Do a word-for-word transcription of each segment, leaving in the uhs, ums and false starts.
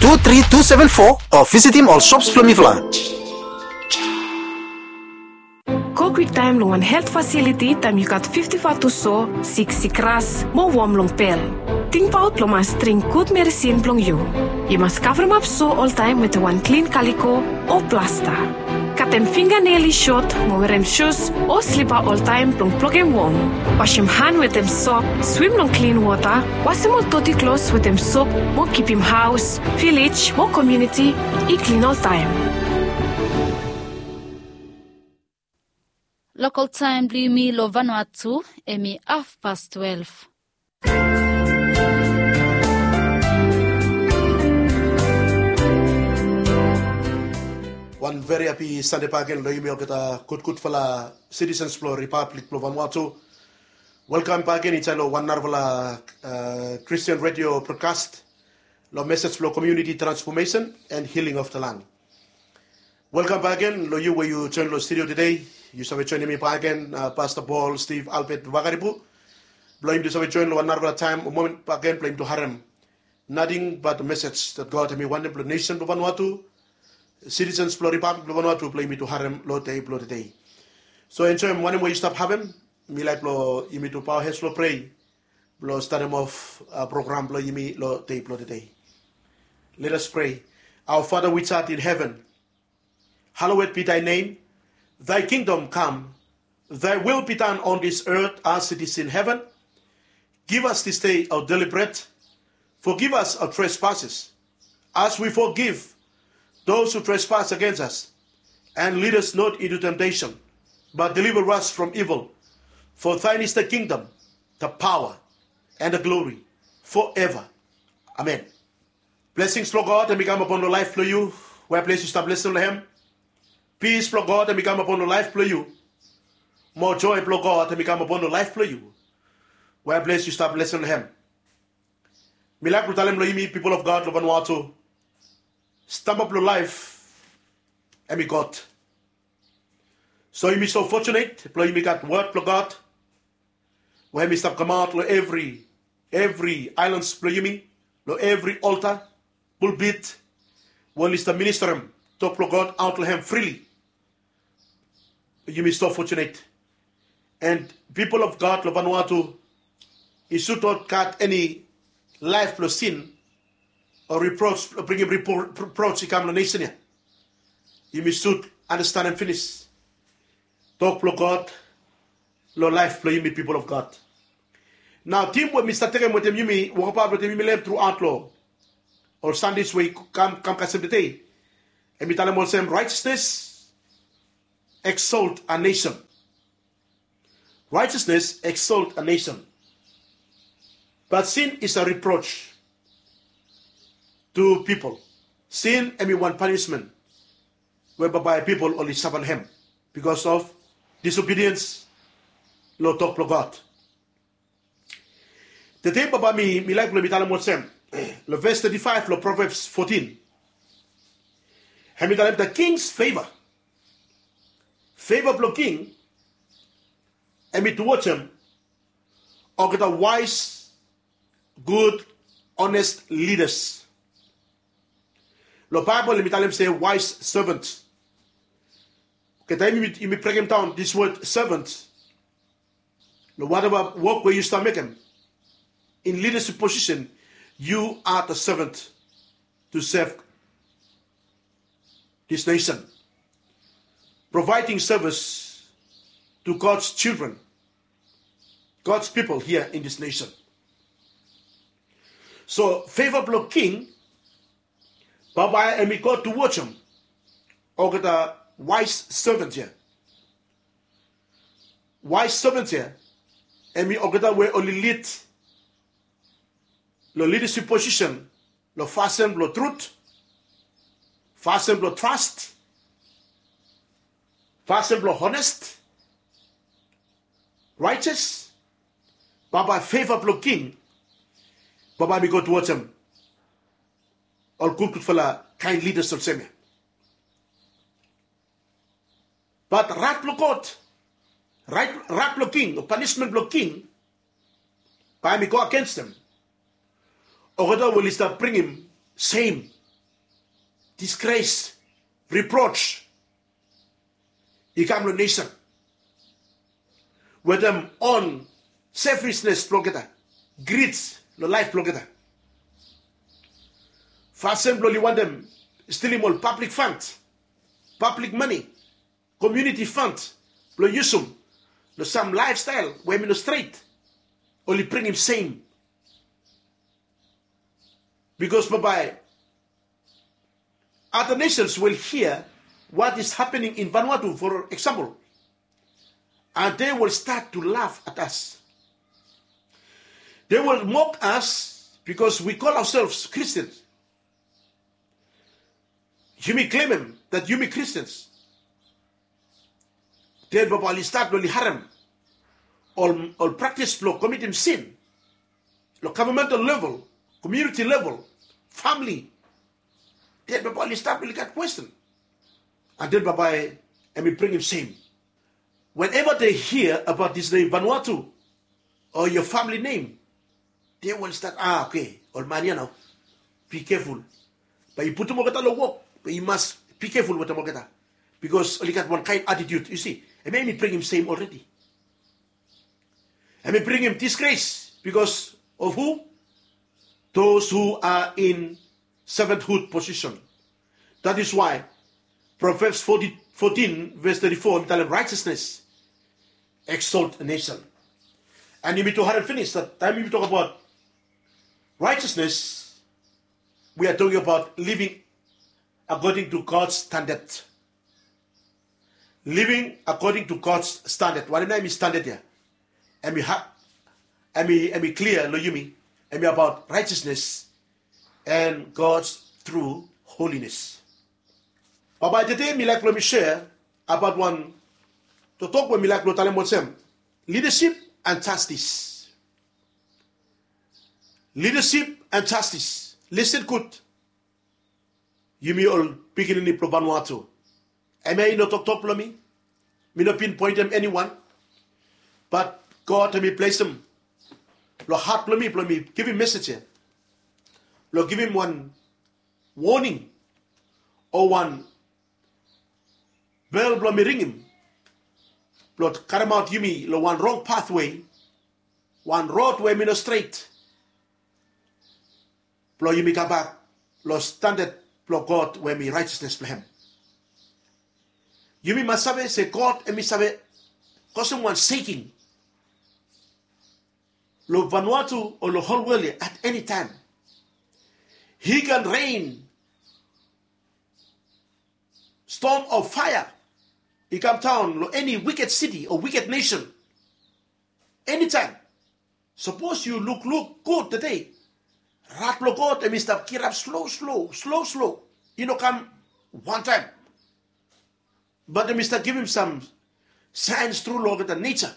tu tri tu seven fo o visitim ol shops blong mifala. Go kwiktaem long wan helt fasiliti taem yu gat fifti fatus o siksik ras mo wom long pel. Tingbaot blong mas dring gud medisin blong yu. Yu mas kavremap so oltaem wetem wan klin kaliko o plasta. Katem finganel i sot mo werem sus o slipa oltaem blong blokem wom. Wasem han wetem sop, swim long klin wota, wasem ol doti klos wetem sop mo kipim haos, vilej mo komuniti i klin oltaem. Lokal taem blong yumi long Vanuatu hemi hafpas twelef. Wan veri hapi Sande bakegen long yumi olgeta gudgudfala sitisens blong Ripablik blong Vanuatu. Welkam bakegen insaed long wan narafala Kristian redio brodkas long mesej blong komuniti transfomesen and hiling of the land. Welkam bakegen long yu we yu joen long studio tede. Yu save joenem mi bakegen, Pasta Paul Steve Albert Vakaripu, blong yumi tu save joen long wan narafala taem o momen bakegen blong yumi tu harem nating bat mesej dat God hemi wantem blong nesen blong Vanuatu, sitisens blong Ripablik blong Vanuatu, blong yumi tu harem long dei blong tede. So enjoem wanem we yu stap havem. Mi laek blong yumi tu bao hed long prea blong statem of program blong yumi long dei blong tede. Let us pray. Our Father which art in heaven, hallowed be thy name. Thy kingdom come. Thy will be done on this earth as it is in heaven. Give us this day our daily bread. Forgive us our trespasses, as we forgive those who trespass against us. And lead us not into temptation, but deliver us from evil. For thine is the kingdom, the power, and the glory, forever. Amen. Blesings blong God hemi kam apon long laef blong yu wea ples yu stap lesin long hem. Pis blong God hemi kam apon long laef blong yu. Moa joe blong God hemi kam apon long laef blong yu wea ples yu stap lesin long hem. Mi laek blong talem long yumi pipol of God long Vanuatu, stamba blong laef hemi God. So yumi so fotunet blong yumi gat wod blong God we hemi stap kamaot long evri evri aelans blong yumi, long evri olta, pulpit, we oli stap ministarem tok blong God aot long hem frili. Yumi so fotunet. And pipol of God long Vanuatu i sud not gat eni laef blong sin o ripros blong bringim ripros i kam long nesen ya. Yumi sud anastenem finis tok blong God long laef blong yumi pipol of God. Nao tim we mi stap tekem wetem yumi wokabaot wetem yumi long hem truaot long ol Sandes we i kam kasem tede, hemi talem olsem, righteousness exalt a nation. Righteousness exalt a nation, but sin is a reproach to people. Sin hemi wan panismen we bambae pipol oli safa long hem bikos of disobediens long tok blong God. Tede bambae mi laek blong mi talem olsem, long ves teti faef long Proverbs fotin, hemi talem the king's favor. Favor blong king hemi tuwajem olgeta waes, gud, honest leaders. Long Baebol hemi talem se wise servant. Oke, taem yumi brekemdaon this word servant, long whatever wok we yu stap mekem in leadership position, you are the servant to serve this nation, providing service to God's children, God's people here in this nation. So favor blong king bambae hemi go tuwajem olgeta wise servant ya. Wise servant ya hemi olgeta we oli lid long leadership position long fasin blong trut, fasin blong tras, fasin blong honest, righteous. Bambae favor blong king bambae hemi go tuwajem ol gudgudfala kaen leaders olsem ya. Bat rat blong God, rat blong king o panismen blong king bae hemi go agensem olgeta we oli stap bringim sem disgrace, reproach i kam long nesen wetem on selfishness blong olgeta, greed long laef blong olgeta. Fasin blong oli wantem stilim ol public fund, public money, community fund blong yusum long sam lifestyle we mi no stret, oli bringim sem. Because bambae other nations will hear what is happening in Vanuatu, for example, and they will start to laugh at us. They will mock us because we call ourselves Christians. Yumi claimim that yumi Christians. Den bambae oli stat blong oli harem ol, ol praktis blong komitim sin long governmental level, community level, famili. Den bambae oli stat blong oli gat kwesten. And den bambae hemi bringim sem. Whenever they hear about this name Vanuatu or your family name, they will start, ah, okay, ol man ya nao, be careful. Bae yu putum olgeta long wok, bae yu mas be careful wetem olgeta. Because oli gat wan kaen attitude, yu si, hemia hemi bringim sem already. Hemi bringim disgrace because of who? Those who are in servanthood position. That is why Proverbs fourteen, fourteen verse thirty-four hemi talem righteousness exalt a nation. And yumi tu harem finis that taem yumi tok abaot righteousness, we are talking about living according to God's standard. Living according to God's standard. Wanem nao hemi standard ya? Hemi ha-, hemi, hemi klia long yumi. Hemi abaot righteousness and God's true holiness. Bambae tede mi laek blong mi share abaot wan toktok we mi laek blong talem olsem, leadership and justice. Leadership and justice. Listen gud. Yumi ol pikinini blong Vanuatu. Hemia i no toktok blong mi. Mi no pinpoentem eniwan. Bat God hemi plesem long hat blong mi blong mi givim mesej ya, blong givim wan woning o wan bel blong mi ringim blong karemaot yumi long wan rong pathway, wan rod we hemi no stret, blong yumi kambak long standad blong God we hemi righteousness blong hem. Yumi mas save se God hemi save kosem wan shaking long Vanuatu o long hol wol ya at eni taem. He can rain storm of fire i kam daon long eni wiked city o wiked nation. Eni taem. Sapos yu lukluk gud tede, rat blong God hemi stap kirap slo slo, slo slo. I no kam wantaem. Bat hemi stap givim sam saens tru long olgeta neja.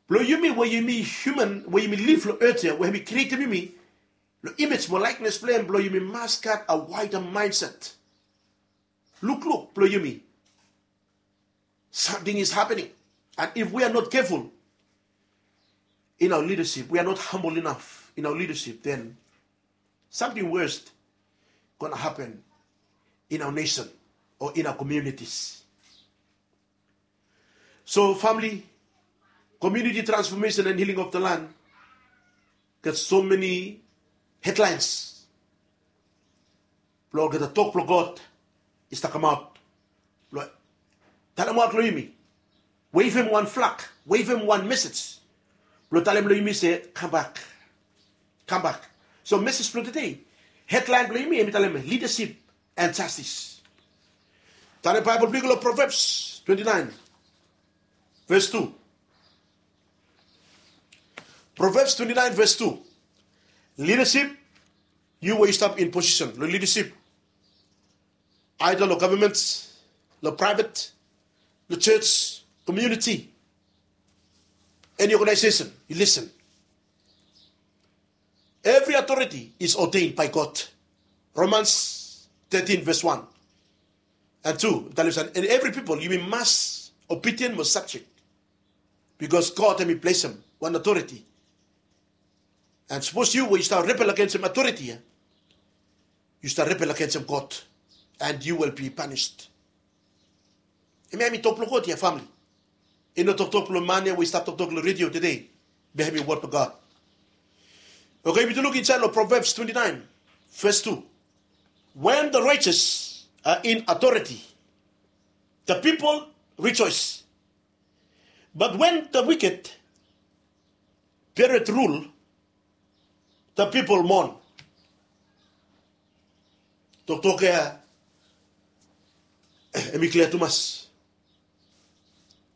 Blong yumi we yumi hiuman, we yumi liv long earth ya, we hemi krietem yumi long image mo likeness blong hem, blong yumi mas gat a wider mindset. Lukluk blong yumi. Something is happening. And if we are not careful in our leadership, we are not humble enough in our leadership, then something worst gonna happen in our nation or in our communities. So family, community transformation and healing of the land gat so many headlines blong olgeta tok blong God i stap kamaot blong talemaot long yumi, wevem wan flag, wevem wan mesej blong talem long yumi se, kambak, kambak. So mesej blong tede, headline blong yumi hemi talem leadership and justice. Talem Baebol blong yu long Proverbs twenty-nine verse two. Proverbs twenty-nine verse two. Leadership, yu we yu stap in position long leadership, either long government, long private, long church, community, any organization, yu listen. Every authority is ordained by God. Romans thirteen verse one and two. And every people, yumi mas obedient mo subject. Because God hemi blesem wan authority. And sapos yu we yu stap rebel agensem authority ya, yu stap rebel agensem God, and you will be punished. Hemia hemi tok blong God ya, famili. I no toktok blong man ya we i stap toktok long redio tede. Be hemi wod blong God. Oke, yumi tu luk insaed long Proverbs twenty-nine, verse two. When the righteous are in authority, the people rejoice. But when the wicked beareth rule, the people mourn. Toktok ya hemi klia tumas.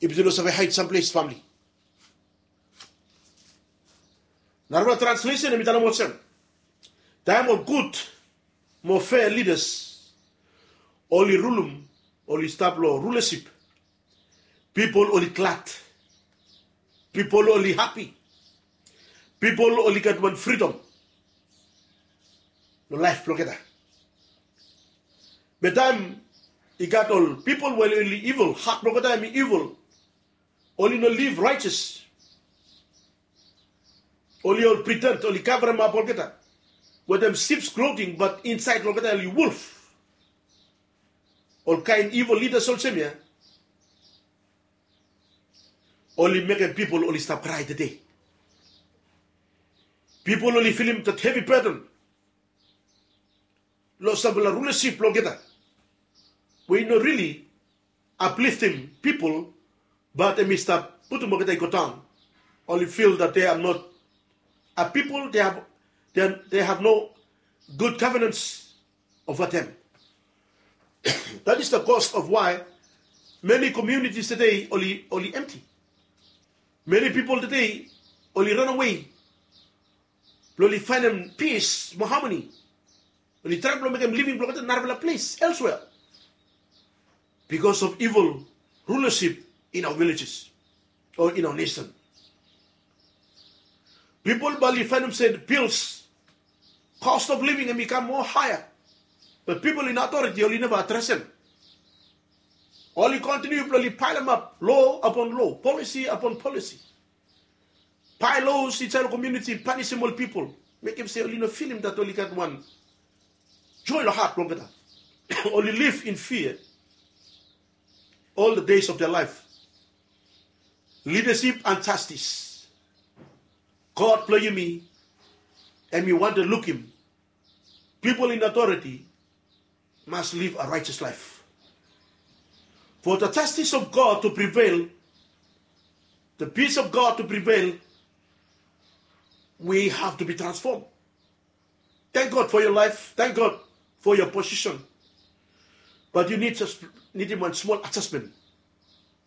Yumi tu no save haed samples, famili. Narafala translesen hemi talem olsem, taem ol gud mo fea lidas oli rulum, oli stap long rulasip, pipol oli glad, pipol oli hapi, pipol oli gat wan fridom long laef blong olgeta. Be taem i gat ol pipol we oli ivol, hat blong olgeta hemi ivol, oli no liv raetes. Oli ol pretend, oli kavremap olgeta wetem sip's clothing, bat insaed long olgeta oli wolf. Ol kaen ivol lidas olsem ya oli mekem pipol oli stap krae tede. Pipol oli filim that hevi burden long sampela rulasip blong olgeta we i no rili apliftim pipol, bat hemi stap putum olgeta i go daon. Oli fil that they are not a people, they have, they are, they have no good governance over them. That is the cause of why many communities today oli, oli empty. Many people today oli run away blong oli faenem peace mo harmony. Oli traem blong mekem living blong olgeta narafala ples elsewhere because of evil rulership in our villages or in our nation. Pipol bae oli faenem se bills, cost of living hemi kam moa haea. Bat pipol in authority oli neva adresem. Oli kontiniu blong oli paelemap loa upon loa, policy upon policy. Pae loas insaed long komuniti, panisim ol pipol, mekem se oli no filim that oli gat wan joe long hat blong olgeta. Oli liv in fear all the days of their life. Leadership and justice. God blong yumi, hemi wantem lukim pipol in authority must live a righteous life. For the justice of God to prevail, the peace of God to prevail, we have to be transformed. Thank God for your life. Thank God for your position. But you need just, nidim wan smol adjustment.